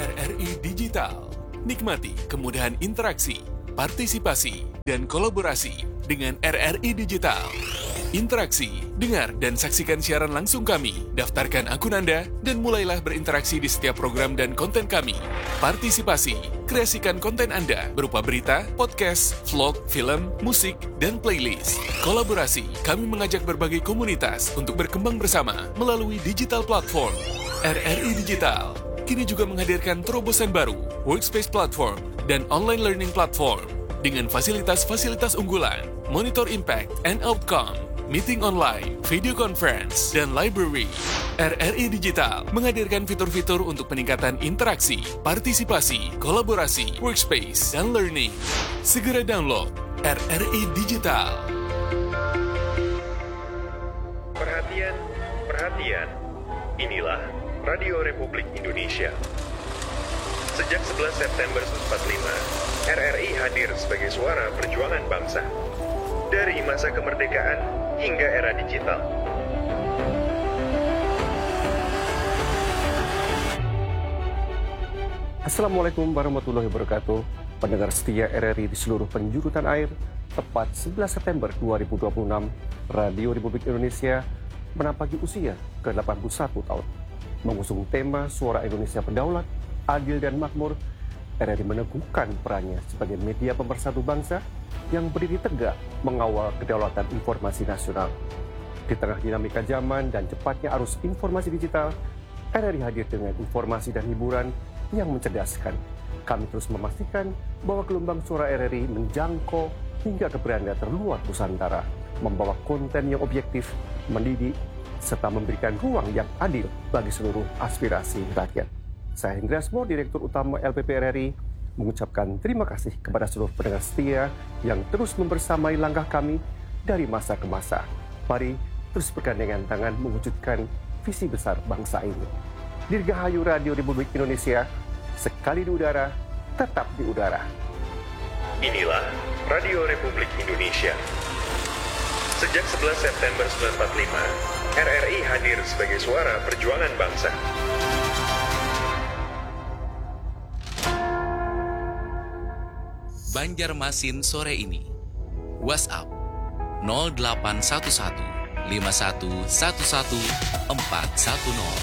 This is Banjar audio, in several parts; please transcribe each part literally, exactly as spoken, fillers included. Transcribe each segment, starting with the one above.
R R I Digital. Nikmati kemudahan interaksi, partisipasi, dan kolaborasi dengan R R I Digital. Interaksi, dengar, dan saksikan siaran langsung kami. Daftarkan akun Anda dan mulailah berinteraksi di setiap program dan konten kami. Partisipasi, kreasikan konten Anda berupa berita, podcast, vlog, film, musik, dan playlist. Kolaborasi, kami mengajak berbagai komunitas untuk berkembang bersama melalui digital platform. R R I Digital kini juga menghadirkan terobosan baru, workspace platform, dan online learning platform dengan fasilitas-fasilitas unggulan, monitor impact and outcome, meeting online, video conference, dan library. R R I Digital menghadirkan fitur-fitur untuk peningkatan interaksi, partisipasi, kolaborasi, workspace, dan learning. Segera download R R I Digital. Perhatian, perhatian. Inilah Radio Republik Indonesia. Sejak sebelas September seribu sembilan ratus empat puluh lima, R R I hadir sebagai suara perjuangan bangsa. Dari masa kemerdekaan hingga era digital. Assalamualaikum warahmatullahi wabarakatuh. Pendengar setia R R I di seluruh penjuru tanah air, tepat sebelas September dua ribu dua puluh enam, Radio Republik Indonesia menampaki usia ke delapan puluh satu tahun. Mengusung tema Suara Indonesia Berdaulat, Adil dan Makmur, R R I meneguhkan perannya sebagai media pemersatu bangsa yang berdiri tegak mengawal kedaulatan informasi nasional. Di tengah dinamika zaman dan cepatnya arus informasi digital, R R I hadir dengan informasi dan hiburan yang mencerdaskan. Kami terus memastikan bahwa gelombang suara R R I menjangkau hingga ke beranda terluar Nusantara, membawa konten yang objektif, mendidik, serta memberikan ruang yang adil bagi seluruh aspirasi rakyat. Saya Hendra Asmor, Direktur Utama L P P R R I, mengucapkan terima kasih kepada seluruh pendengar setia yang terus membersamai langkah kami dari masa ke masa. Mari terus bergandengan tangan mewujudkan visi besar bangsa ini. Dirgahayu Radio Republik Indonesia, sekali di udara, tetap di udara. Inilah Radio Republik Indonesia. Sejak sebelas September sembilan empat lima, R R I hadir sebagai suara perjuangan bangsa. Banjarmasin sore ini. WhatsApp nol delapan satu satu lima satu satu satu empat satu nol.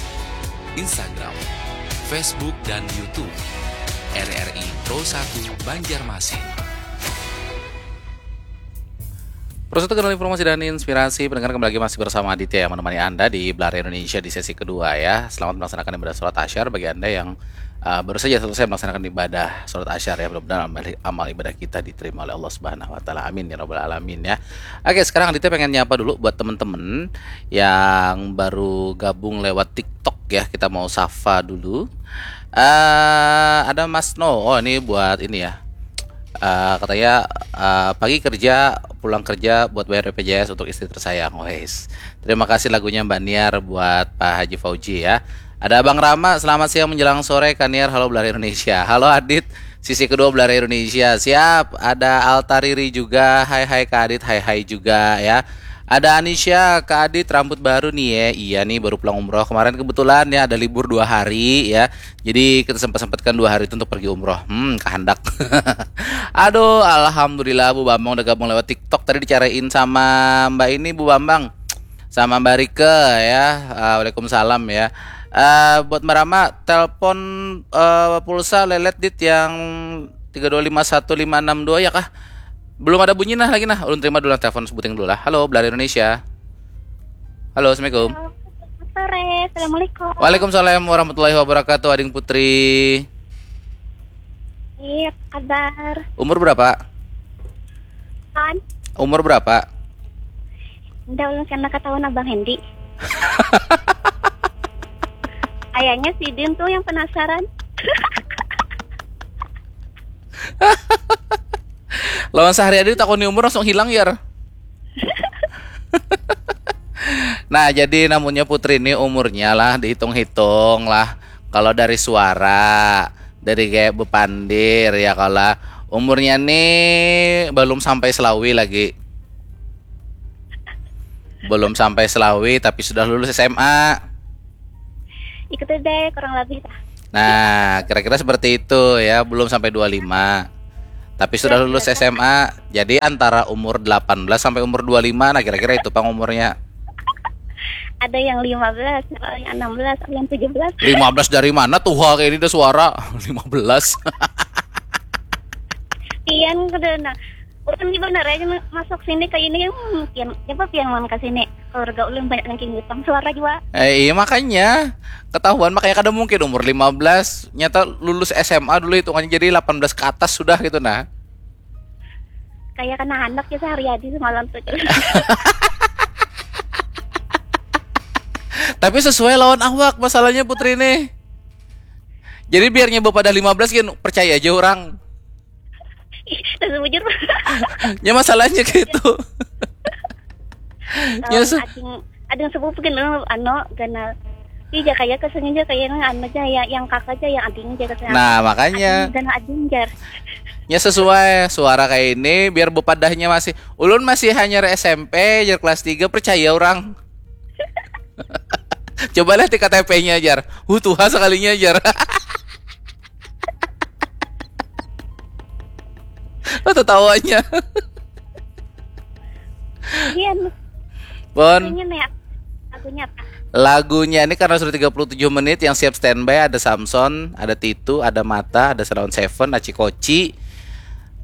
Instagram, Facebook, dan YouTube R R I Pro satu Banjarmasin. Pro satu kanal informasi dan inspirasi. Pendengar, kembali lagi masih bersama Aditya yang menemani Anda di Belahar Indonesia di sesi kedua ya. Selamat melaksanakan ibadah sholat asyar bagi Anda yang uh, baru saja selesai melaksanakan ibadah sholat asyar ya. Mudah-mudahan amal, amal ibadah kita diterima oleh Allah Subhanahu wa taala. Amin ya rabbal alamin ya. Oke, sekarang Aditya pengen nyapa dulu buat temen-temen yang baru gabung lewat TikTok ya. Kita mau sapa dulu. Eh, ada Mas No. Oh, ini buat ini ya. Eh, katanya, eh, pagi kerja, pulang kerja buat bayar B P J S untuk istri tersayang. Wes. Terima kasih lagunya Mbak Niar buat Pak Haji Fauji ya. Ada Abang Rama, selamat siang menjelang sore, Kak Niar, halo Belahar Indonesia. Halo Adit, sisi kedua Belahar Indonesia. Siap, ada Alta Riri juga, hai hai Kak Adit, hai hai juga ya. Ada Anisha, Kak Adit, rambut baru nih ya. Iya nih, baru pulang umroh kemarin kebetulan ya, ada libur dua hari ya. Jadi kita sempat-sempatkan dua hari itu untuk pergi umroh. Hmm, kehendak. Aduh, alhamdulillah Bu Bambang udah gabung lewat TikTok, tadi dicariin sama Mbak ini, Bu Bambang. Sama Mbak Rike ya. Ah, waalaikumsalam ya. Eh, buat Mbak Rama, telepon, eh, pulsa lelet dit yang tiga dua lima satu lima enam dua ya kah? Belum ada bunyi nah lagi nah. Ulun terima dulu nah telepon sebuting dulu lah. Halo, Belahar Indonesia. Halo, assalamualaikum. Halo, selamat sore. Assalamualaikum. Waalaikumsalam warahmatullahi wabarakatuh, Ading Putri. Iya, apa kabar? Umur berapa? Kan? Umur berapa? Udah, ulun sana ketahuan Abang Hendy. Kayaknya sidin tuh yang penasaran. Lawan sehari ada ditakoni umur langsung hilang, Yar. Nah, jadi namunnya Putri ini umurnya lah, dihitung-hitung lah. Kalau dari suara, dari kayak bepandir ya, kalau umurnya nih belum sampai selawi lagi. Belum sampai selawi tapi sudah lulus S M A. Ikuti deh, kurang lebih lah. Nah, kira-kira seperti itu ya, belum sampai dua lima. Tapi sudah lulus S M A, jadi antara umur delapan belas sampai umur dua lima, nah kira-kira itu pang umurnya. Ada yang lima belas, ada yang enam belas, ada yang tujuh belas. Lima belas dari mana tuh, kayak ini ada suara. Lima belas. Pian kada, nah, ulun ni benar aja masuk sini ke ini, hmm, pian, siapa pian wan ke sini? Keluarga ulun banyak yang kini pang suara juga. Eh, iya, makanya ketahuan, makanya kada mungkin umur lima belas. Nyata lulus S M A dulu hitungannya, jadi delapan belas ke atas sudah gitu nah. Kayak kena anak ya sehari hari semalam tuh. Tapi sesuai lawan awak masalahnya, Putri nih. Jadi biarnya bapadah lima belas kan percaya aja orang. Ih, dan bujur. Ya, masalahnya gitu. Lawan ading, ading sepupu gini, anu, ganal. Ih, ja kaya kesannya ja kaya nang anu ja ya, yang kakak ja, yang ading ja kesannya. Nah, makanya. Ganal ading jar. Ya, sesuai suara kayak ini, biar bepadahnya masih. Ulun masih hanya S M P, jar, kelas tiga, percaya orang. Coba lihat di K T P-nya, jar. Uh, tuha sekalinya, jar. Oh, tertawanya. Iya, Bon, lagunya nih, lagunya apa? Lagunya ini karena sudah tiga puluh tujuh menit, yang siap standby ada Samson, ada Titu, ada Mata, ada Salon Seven, Aci Koci.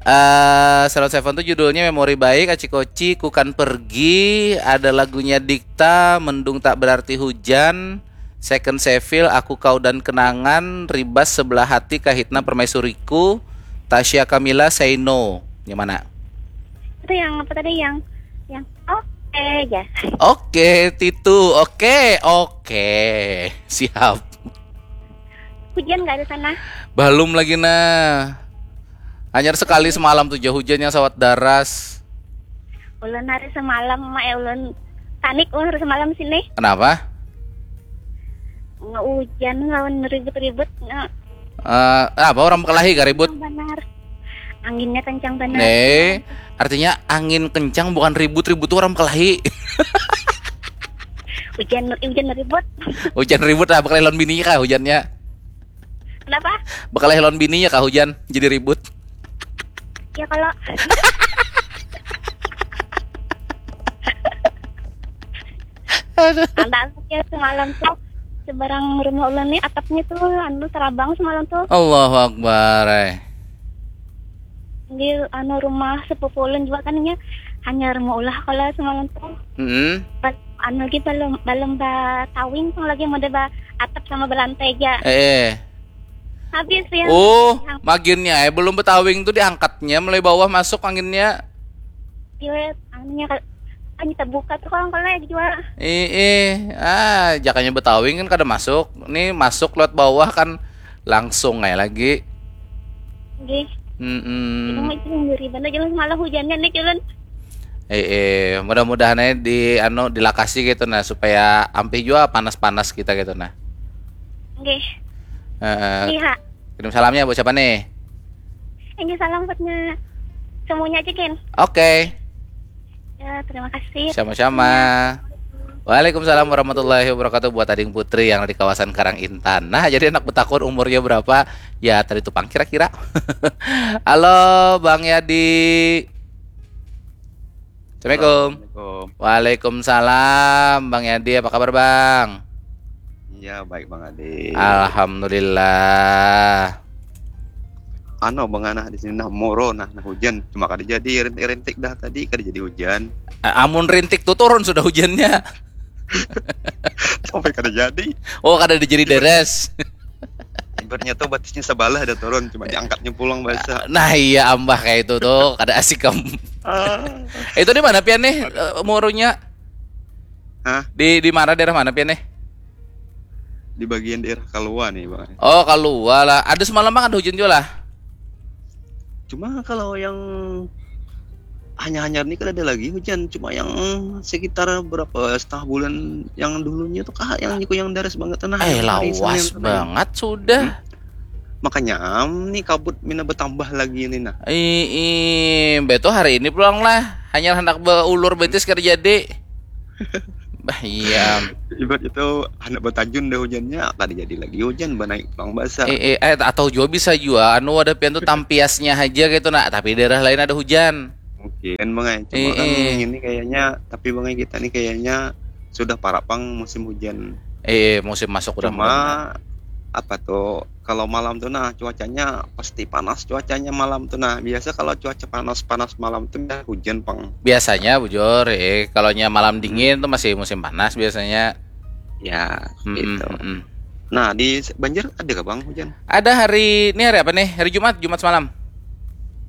Eh, Salon Seven tuh judulnya Memori Baik, Aci Koci, Ku Kan Pergi, ada lagunya Dikta, Mendung Tak Berarti Hujan, Second Seville, Aku Kau dan Kenangan, Ribas, Sebelah Hati, Kahitna, Permaisuriku, Tasya Kamila, Say No. Yang mana? Itu yang apa tadi, yang, yang oke aja. Oke, Titu. Oke, oke. Siap. Hujan nggak ada sana? Belum lagi nah. Hanyar sekali semalam tuh, hujannya sawat daras. Ulun hari semalam mah, eh, ulun panik ulun hari semalam sini. Kenapa? Nggak hujan, lawan ribut-ribut. Nggak. Eh, apa orang bekelahi gak ribut? Kencang banar. Anginnya kencang banar. Nih, artinya angin kencang bukan ribut, ribut tuh orang bekelahi. Hujan, hujan ribut. Hujan ribut lah, bekelahi lawan bininya kah hujannya? Kenapa? Bekelahi lawan bininya kah hujan jadi ribut? Ya kalau Aduh. Anda ya semalam tuh seberang rumah ulun nih atapnya tuh anu terabang semalam tuh. Allahu Akbar. Eh. Di anu rumah sepupu ulun juga kan nya hanya rumah ulah kalau semalam tuh. Mm-mm. Bal- anu lagi belum belum ba tawing pang lagi mau ba atap sama belantai aja. Eh, eh. Habis ya. Oh, maginnya eh belum betawing tuh diangkatnya mulai bawah masuk anginnya. Iya, anunya kan hanya terbuka tuh kalau kalau juga. Ih, ih. Ah, jakanya betawing kan kada masuk. Nih masuk lewat bawah kan langsung aja lagi. Nggih. Itu Mm-mm. mah itu ngeri banget jalan semalam hujannya nih jalan. Eh, eh, mudah-mudahan aja di anu dilakasi gitu nah supaya ampih juga panas-panas kita gitu nah. Nggih. Heeh. Iya. Kirim salamnya buat siapa nih? Ini salam buatnya semuanya aja Ken. Oke. Ya, terima kasih. Sama-sama. Waalaikumsalam warahmatullahi wabarakatuh buat Ading Putri yang di kawasan Karang Intan. Nah, jadi anak betakun umurnya berapa? Ya, tadi tuh pang kira-kira. Halo, Bang Yadi. Assalamualaikum. Assalamualaikum. Waalaikumsalam, Bang Yadi. Apa kabar, Bang? Iya, baik Bang Adi. Alhamdulillah. Ano Bang Anah di sini nah moro nah, nah hujan cuma kada jadi rintik-rintik dah tadi kada jadi hujan. A- Amun rintik tuh turun sudah hujannya. Sampai kada jadi. Oh, kada dijadi deres. Ibaratnya tuh batisnya sebelah ada turun cuma diangkatnya pulang basah. Nah, iya, ambah kayak itu tuh, kada asik kamu. Ah, Itu di mana pian nih, eh, murunya? Hah? Di di mana, daerah mana pian nih? Di bagian daerah Kalua nih Bang. Oh, Kalua lah. Ada semalam kan hujan juga lah. Cuma kalau yang hanya-hanya ini kan ada lagi hujan, cuma yang sekitar berapa setengah bulan yang dulunya tuh kah yang niku yang daras banget tuh nah. Eh, Yang hari Senin lawas tuh, nah. Banget sudah. Makanya am nih kabut mina bertambah lagi nih nah. Ih, ih, betul hari ini pulang lah. Hanya hendak beulur betis kada jadi. Bah, iya. Ibarat itu anak batajun dah hujannya, kada jadi lagi hujan, banaik pulang basah. Eh, eh, eh, atau jua bisa jua anu wadah pian tuh tampiasnya aja gitu nah, tapi daerah lain ada hujan. Mungkin bang ai. Cuma Eh, kan eh. Ini kayaknya, tapi bang ai, kita nih kayaknya sudah parak pang musim hujan. Eh, musim masuk udah Cuma apa tuh, kalau malam tuh nah cuacanya pasti panas cuacanya malam tuh nah. Biasa kalau cuaca panas-panas malam tuh ya hujan pang. Biasanya bujur, eh, kalau nya malam dingin tuh masih musim panas biasanya. Ya, Mm-mm, gitu. Mm-mm. Nah, di Banjar ada gak bang hujan? Ada hari ini hari apa nih? Hari Jumat, Jumat semalam.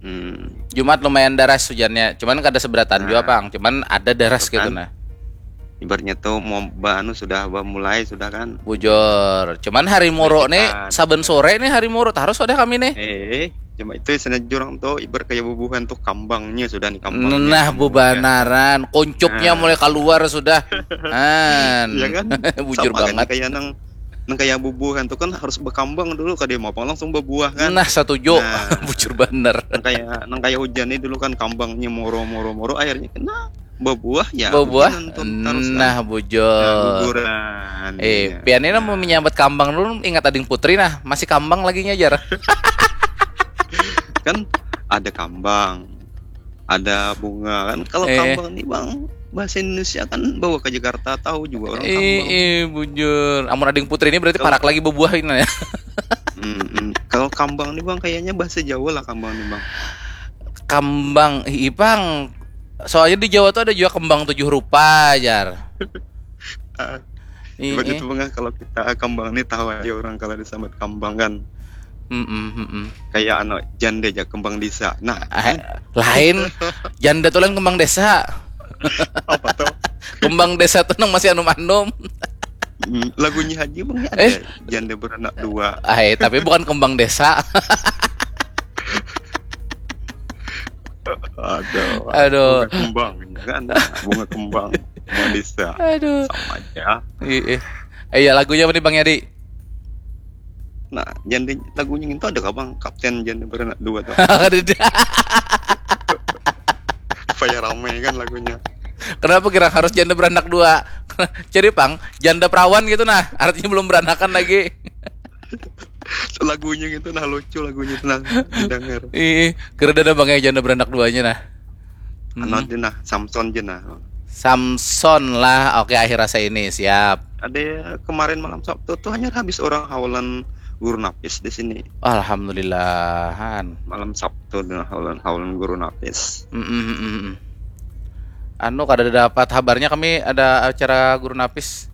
Hmm. Jumat lumayan daras hujannya, cuman kada seberatan Nah. Jua pang, cuman ada daras gitu Kan? Nah. Ibaratnya tuh mau anu sudah mulai sudah kan. Bujur, cuman hari moro nih, saben sore nih hari moro harus ada kami nih. Eh, cuma itu sana jurang tuh ibarat kayak bubuhan tuh kambangnya sudah nih kambangnya. Nah, bubanaran, kuncupnya Nah. Mulai keluar sudah. An. Iya kan? Bujur Sama kan, banget. Kayak nang nang kayak bubuhan tuh kan harus berkambang dulu, kada mau apa langsung berbuah kan. Nah, setuju. Nah. Bujur bener. Nang kayak nang kayak hujan nih dulu kan kambangnya moro moro moro akhirnya kena berbuah ya. Berbuah. Hujan tuh terus kan. Nah, bujur. Guguran. Eh, Iya. pian ini mau menyambut kambang dulu, ingat ading putri nah, masih kambang lagi nyajar. Kan ada kambang, ada bunga kan. Kalau Eh. Kambang nih bang, bahasa Indonesia kan bawa ke Jakarta tahu juga orang Eh, Kambang. Eh, bujur. Amun ading putri ini berarti Kalau- parak lagi berbuah ini ya. Mm-mm. Kalau Kambang nih bang, kayaknya bahasa Jawa lah Kambang nih bang. Kambang, ih, pang. Soalnya di Jawa tuh ada juga kembang tujuh rupa, jar. Ah, Ih, Ibarat ih. Itu bang, kalau kita Kambang nih tahu aja orang kalau disambut Kambang kan. Mm-mm, mm-mm. Kayak anu janda aja kembang desa. Nah, Eh, lain, janda tuh lain kembang desa. Apa tuh? Kembang desa tuh nang masih anum-anum. Mm, lagunya Haji bang ada Eh. Janda beranak dua. Ai, tapi bukan kembang desa. Aduh. Aduh. Bunga kembang kan. Bunga kembang. Kembang desa. Aduh. Sama aja. Iya. Iya, lagunya apa nih Bang Yadi? Nah, janda lagunya itu ada kah bang? Kapten Janda beranak dua tuh. Ada dia. Supaya ramai kan lagunya. Kenapa kira harus janda beranak dua? Jadi pang, janda perawan gitu nah, artinya belum beranakan lagi. Lagunya gitu nah, lucu lagunya itu nah, didengar. Ih, kira ada Bang ya janda beranak duanya nah. Hmm. Anu aja nah, Samson aja nah. Samson lah. Oke, akhir rasa ini siap. Ada kemarin malam Sabtu tuh hanya habis orang haulan guru napis di sini. Alhamdulillahan. Malam Sabtu tuh haulan haulan guru napis. Mm, mm, mm, mm. Anu, kada dapat habarnya kami ada acara guru napis.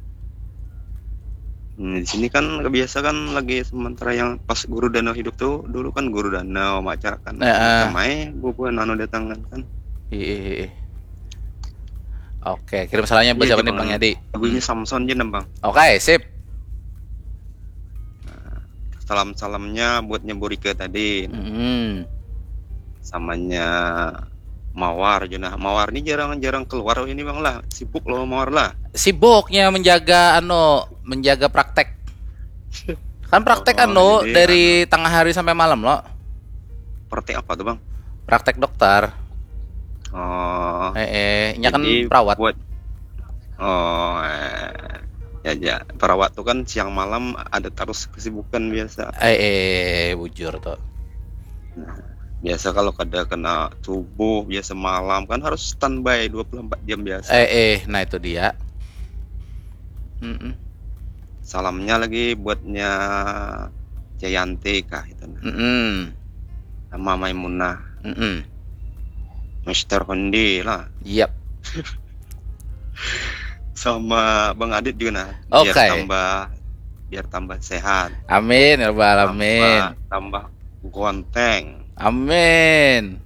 Hmm, di sini kan biasa kan lagi sementara yang pas guru Danau hidup tuh, dulu kan guru Danau macam kan. Heeh. Ramai bubuhan anu datang kan. Ih, ih, ih. Oke, kirim salamnya buat Iya, siapa nih Bang. Bang Yadi? Lagunya Samson aja nembang. Oke, sip. Salam-salamnya buatnya Burika tadi. Mm-mm. Samanya Mawar aja nah. Mawar ini jarang-jarang keluar ini bang lah. Sibuk loh Mawar lah. Sibuknya menjaga anu, menjaga praktek. Kan praktek Oh, anu ini dari tengah hari sampai malam lo. Praktek apa tuh bang? Praktek dokter. Oh. Eh, eh, nya kan Jadi perawat. Buat oh eh, ya ya perawat tuh kan siang malam ada terus kesibukan biasa. Eh, eh, bujur tuh. Biasa kalau kada kena subuh biasa malam kan harus standby dua puluh empat jam biasa. Eh, eh, nah itu dia. Mm-mm. Salamnya lagi buatnya Jayanti kah itu nah. Mm-mm. Sama Maimunah, Mm-mm. Mister Hondi lah, Yap. sama Bang Adit juga nah. Biar Oke. tambah biar tambah sehat. Amin ya rabbal alamin. Tambah, tambah gonteng. Amin.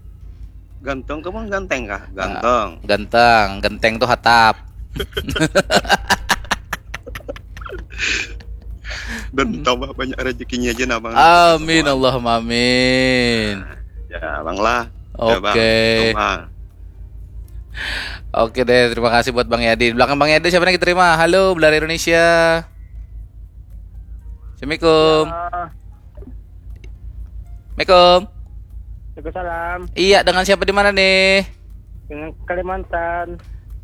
Ganteng kah bang ganteng kah? Ganteng. Ganteng, genteng tuh hatap. Dan tambah banyak rezekinya aja nah bang. Amin Semua. Allahumma amin. Ya bang lah. Ya, Bang. Oke. Tuh, Bang. Oke deh, terima kasih buat Bang Yadi. Di belakang Bang Yadi siapa nih kita terima? Halo, Belar Indonesia. Assalamualaikum. Ya, Assalamualaikum. Waalaikumsalam. Iya, dengan siapa di mana nih? Dengan Kalimantan.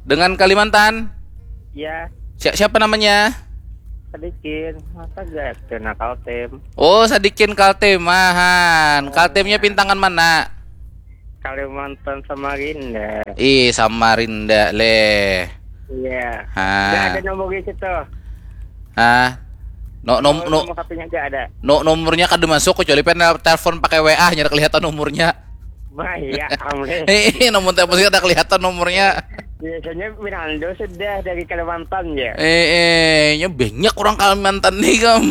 Dengan Kalimantan? Ya, Si- siapa namanya? Sadikin. Masa gak kena Kaltim? Oh, Sadikin Kaltim. Ahan. Kaltimnya pintangan mana? Kalimantan Samarinda. Ih, Samarinda leh. Iya. Hah. Gak ada nomor di situ. Hah? No, nom, Oh, no, nomor H P-nya gak ada. No, nomornya kada masuk, kecuali pen telepon pakai W A, nyada kelihatan nomornya. Bah, iya, amleh. Eh, nomor telepon sih kada kelihatan nomornya. Biasanya Winaldo sudah dari Kalimantan ya. Eh, eh, nya banyak orang Kalimantan nih, kam.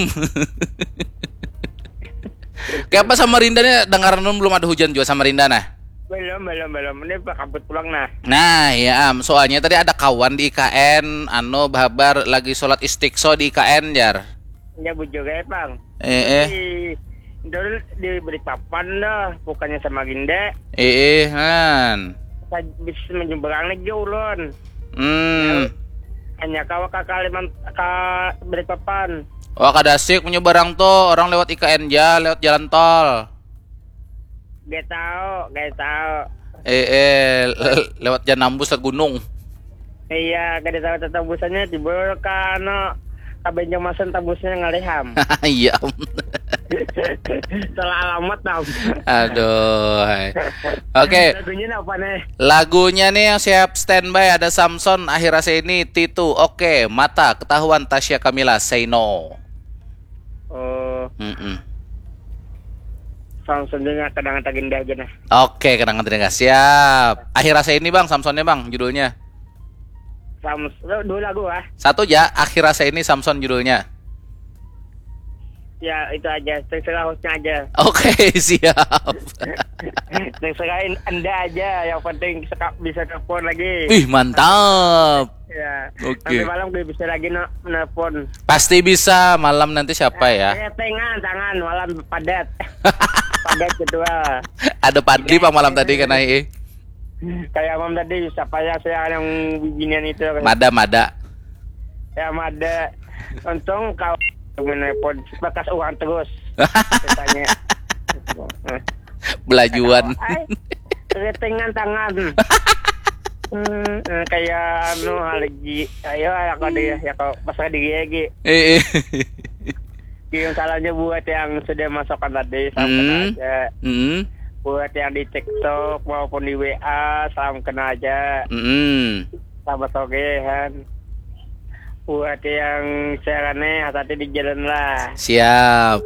Kayak apa Samarinda nih, dengaran belum ada hujan juga Samarinda nah. Belum, belum, belum. Ini kabut pulang nah. Nah, ya am, soalnya tadi ada kawan di I K N, anu, bahabar lagi sholat istiqso di I K N, jar. Ya bujur ya, Bang. Eh, eh, Di, dulu di Balikpapan dah, bukannya Samarinda. eh, eh, han. Saya bisa menyeberang lagi ulun. Hmm, Hanya kawa ke Kalimantan, ke Balikpapan. Wah, kada asik menyeberang tuh, orang lewat I K N ja, lewat jalan tol. Gak tahu, gak tahu. Eh, eh, le- lewat jalan nambus ke gunung. Iya, gak tahu tembusannya di bawah ke anu, ke Banjarmasin tembusnya ngaliham. Iya. Salah alamat, Nam. Aduh. Hai. Oke, Lagunya apa nih? lagunya nih yang siap standby ada Samson, Akhir Rasa Ini, Titu. Oke, Mata, Ketahuan, Tasya Kamila, Say No. Oh, Mm-mm. Samson juga kadang tak indah aja nah. Oke, kenangan terindah. Siap. Akhir Rasa Ini, Bang, Samsonnya, Bang, judulnya. Samson, dua lagu ah. Satu aja, Akhir Rasa Ini, Samson judulnya. Ya itu aja, terserah hostnya aja. Oke, siap. Terserahin anda aja, yang penting seka- bisa telepon lagi. Wih, mantap. Ya. Oke. Nanti malam gue bisa lagi no- nelpon. Pasti bisa malam nanti siapa ya? Eh, tengan tangan malam padat. Padat jadwal. Ada Padli, Pak, malam tadi kena, eh. Kayak mam tadi siapa ya, saya yang bibinian itu. Mada, mada. Ya mada. Untung kau menelpon bekas uang terus. Tanya. Belajuan. Ay, ketengan tangan. Hmm, eh, kayak anu lagi. Ayo aku deh ya kau pasrah diri lagi. Eh, eh. Kirim salamnya buat yang sudah masukkan tadi, salam Hmm. kenal aja. Hmm. Buat yang di TikTok maupun di W A, salam kenal aja. Hmm. Selamat sore, Han. Buat yang siarannya, hati-hati di jalan lah. Siap.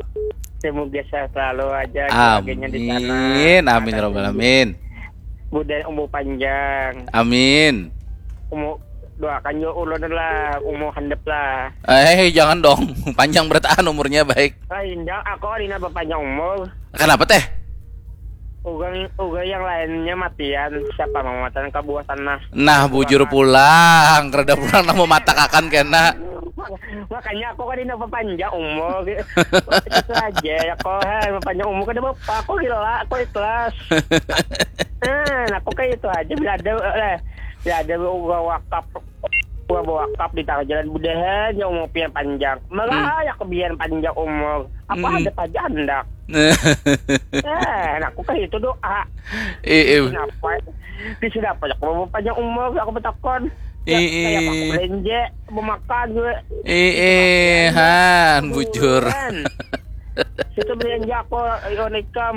Semoga sehat selalu aja keluarganya di sana. Amin. Amin Ada robbal yang amin. Mudah, umur panjang. Amin. Umur, doakan juga ulun lah, umur handap lah. Eh, jangan dong. Panjang berataan umurnya, baik. Ah, indah, aku Alina berpanjang umur. Kenapa teh? Ugang, ugang yang lainnya matian, siapa mamatan kabuatan nah. Nah, bujur pulang, rada pulang nang mamatakan kena. Makanya aku kan ini panjang umur. Itu aja ya kau, hei, panjang umur kada apa-apa, aku gila, aku ikhlas. Nah, aku kayak itu aja, bila ada eh, bila ada uga wakaf, uga wakaf di tengah jalan, mudahan ya umur pian panjang. Malah ya aku biar panjang umur. Apa Hmm. ada aja handak. Eh, nah, aku kayak itu doa. Eh, eh. Kenapa? Di sini apa ya? Kalau panjang umur aku betakon. Ya, Ih, kayak ih. aku belanja, mau makan juga. Eh, eh, han, bujur. Kan. Situ belanja aku, ion ikam.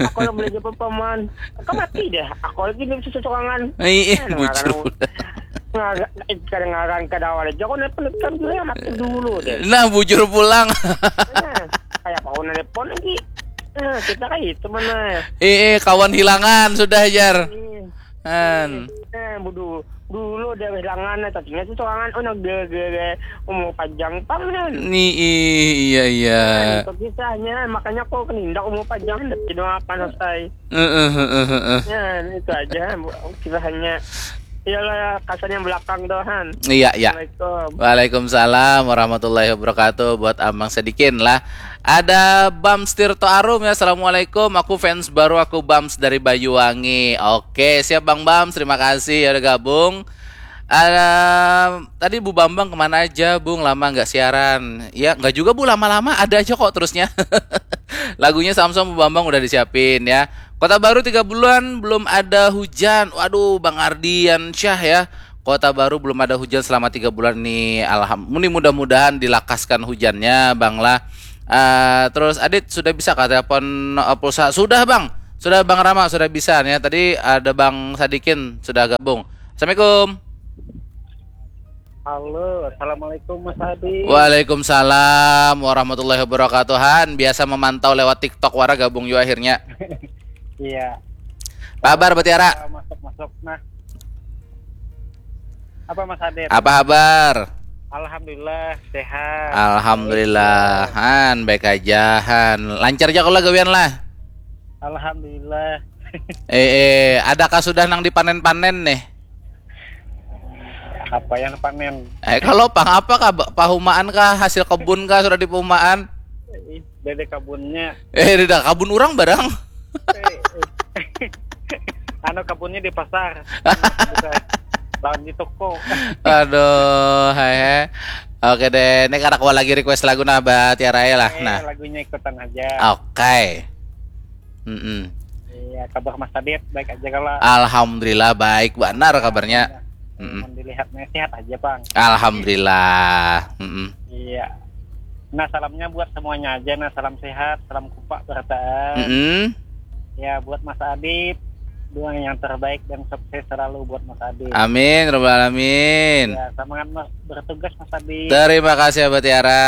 Aku yang belanja paman. Kau mati deh. Aku lagi di situ sorangan. Eh, eh, Kan, bujur. Ngaran, ngaran, eh, kadang ngaran kada awal aja. Aku nelpon ikam juga yang mati dulu deh. Nah, bujur pulang. Nah, kayak apa aku nelpon lagi. Nah, kita kayak itu mana. Eh, eh, kawan hilangan sudah, jar. Iya. Han. Eh, budu dulu udah kehilangan, tadinya tuh sorangan, oh, nah, ge, ge, ge, umur panjang pang kan. Ni, i- iya, iya. Nah, itu kisahnya, makanya aku kenindak umur panjang, tidak apa selesai. Heeh, heeh, heeh. Ya, itu aja, Bu, kisahnya. Iyalah, kasarnya belakang doh, Han. Iya, iya. Assalamualaikum. Waalaikumsalam warahmatullahi wabarakatuh. Buat Amang Sadikin lah. Ada Bams Tirto Arum ya. Assalamualaikum. Aku fans baru aku Bams dari Banyuwangi. Oke, siap Bang Bams. Terima kasih ya udah gabung. Ada tadi Bu Bambang kemana aja, Bung? Lama nggak siaran. Ya, nggak juga Bu, lama-lama ada aja kok terusnya. Lagunya Samsung Bu Bambang udah disiapin ya. Kota Baru tiga bulan belum ada hujan. Waduh, Bang Ardian Syah ya. Kota Baru belum ada hujan selama tiga bulan ini. Alham, muni mudah-mudahan dilakaskan hujannya, Bang lah. Eh, terus Adit sudah bisa kah telepon, eh, pulsa? Sudah, Bang. Sudah, Bang Rama sudah bisa ya. Tadi ada Bang Sadikin sudah gabung. Assalamualaikum. Halo, assalamualaikum Mas Adi. Waalaikumsalam warahmatullahi wabarakatuh. Han, biasa memantau lewat TikTok wara gabung juga akhirnya. Iya. Apa kabar Batiara? Masuk masuk nah. Apa Mas Adit? Apa kabar? Alhamdulillah sehat. Alhamdulillah. Han, baik aja Han. Lancar aja kalau gawian lah. Alhamdulillah. Eh, eh, adakah sudah nang dipanen-panen nih? Apa yang panen? Eh, kalau pang apa kah? Ba- Pahumaan kah? Hasil kebun kah? Sudah dipahumaan? Ih, dede kabunnya. Eh, dah kabun orang barang. Anu kabunnya di pasar. Lawan di toko. Aduh, hehe. Oke deh, ini kada kawa lagi request lagu nah, Batiara ya lah. Eh, Nah, lagunya ikutan aja. Oke. Mm-mm. Iya, kabar Mas Adit baik aja kalau. Alhamdulillah baik benar kabarnya. Mm-mm. Mun dilihatnya sehat aja, Bang. Alhamdulillah. Mm-mm. Iya. Nah, salamnya buat semuanya aja. Nah, salam sehat, salam kupak berataan. Mm-mm. Ya, buat Mas Adit, doa yang terbaik dan sukses selalu buat Mas Adit. Amin, robbal alamin. Ya, semangat Mas bertugas Mas Adit. Terima kasih Abah Tiara.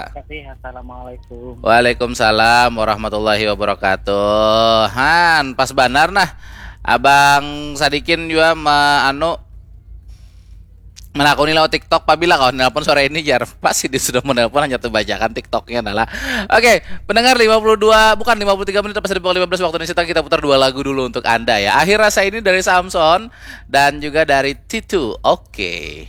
Terima kasih. Assalamualaikum. Waalaikumsalam warahmatullahi wabarakatuh. Han, pas banar nah. Abang Sadikin juga me, anu menakuni lewat TikTok, pabila kau nelpon sore ini jar. Pasti dia sudah menelpon, hanya terbacakan TikToknya adalah. Oke, pendengar, lima puluh dua, bukan, lima puluh tiga menit pas di pukul lima belas waktu Indonesia Tengah, kita putar dua lagu dulu untuk Anda ya. Akhir Rasa ini dari Samson dan juga dari Titu. Oke.